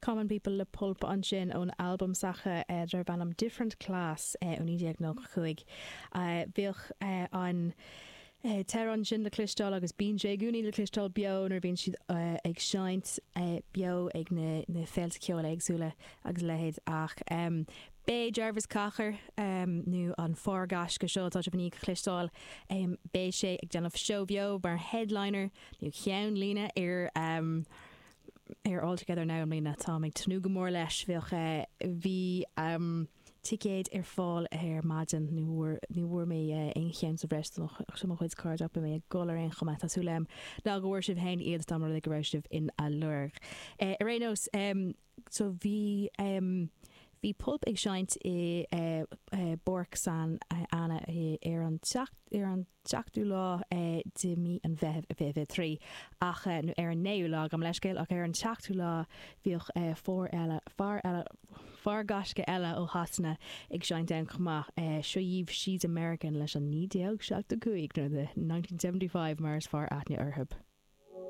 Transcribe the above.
Common People le Pulp ansin ón albam s'acu darb ainm Different Class ó 1995. Bhíodh an t-amhrán sin le cloisteáil agus bíonn sé i gcónaí le cloisteáil beo nuair a bhíonn siad ag seinnt beo ag na féilte ceoil éagsúla agus a leithéid ach beidh Jarvis Cocker nó an fear gaisce seo atá sibh i ndiaidh a chloisteáil beidh sé ag déanamh seó beo mar headliner nó ceann líne ar ar All Together Now i mbliana. Táim ag tnúth go mór leis. Bheadh, bhí ticéid ar fáil ar maidin, ní bhfuair, ní bhfuair mé aon cheann sa bhreis do mo chuid cairde ach beidh mé ag gol ar aon chuma. Tá súil agam ná go bhfuair sibh féin iad dá mba rud é go raibh sibh ina lorg. Ar aon nós, so bhí, bhí Pulp ag seinnt i bPáirc San Anna ar an tseacht, ar an. seachtú lá de mí an Mheithimh 2023 ach, nó ar an naoú lá, gabh mo leithscéal, ach ar an tseachtú lá bhíodh fear eile, fear eile, fear gaisce eile ó Shasana ag seinnt ann chomh maith. Seo dhaoibh She's American leis an 1975 nó The 1975 mar is fearr aithne orthu.